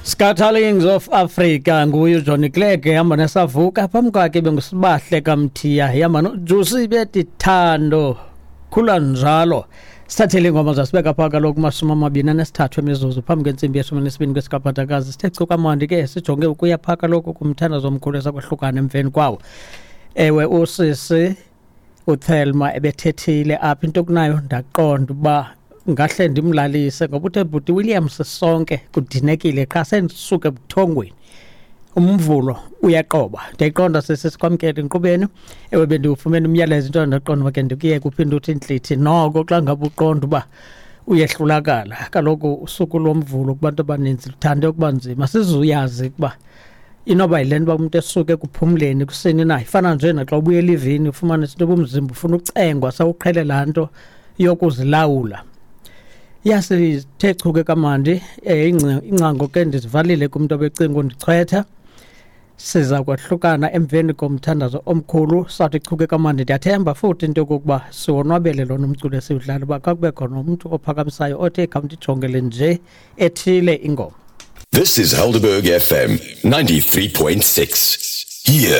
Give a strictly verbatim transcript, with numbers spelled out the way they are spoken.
Scatterlings of Africa nguye uJohnny Clegg ehamba nesavuka. Phambi kwakhe benguSibahle kaMthiya ehamba noJusi bethi Thando khula njalo. Sithathele ingoma zasibeka phaa kaloku kumashumi amabini anesithathu emizuzu phambi kwentsimbi yeshumi nesibini kwesikaphathakazi. Sithe chu kamandi ke, sijonge ukuya phaa kaloku kumthandazo omkhulu esakwahlukana emveni kwawo. Ewe, usisi uThelma ebethethile apha into kunayo, ndaqonda uba ngahle ndimlalise ngoba uthe, "Bhuti Williams, sonke kudinekile qha sendisuke ebuthongweni, uMvulo uyaqoba." Ndiyayiqonda sisi, sikwamkele enkqubeni. Ewe, bendiwufumene umyalezo into, ndaqonda uba ke ndikuyeke uphinde uthi intlithi noko xa ngabe uqonda uba uyehlulakala. Kaloku usuku loMvulo kubantu abaninzi luthande ukuba nzima, sizuyazi ukuba inoba yile nto uba umntu esuke ekuphumleni kusini na. Ifana nje naxa ubuya elivini, ufumanise into yoba umzimba ufuna ucengwa sawuqhele laa nto yokuzilawula. Yasithe chu ke kamandi um ingcango ke ndizivalile kumntu obecinga undichwetha. Siza kwahlukana emveni komthandazo omkhulu. Sathi chu ke kamandi. Ndiyathemba futhi into yokokuba siwonwabele lona umculo esiwudlala, uba xa kube khona umntu ophakamisayo othi khawundijongele nje ethile ingoma. This is Helderberg F M ninety-three point six. Here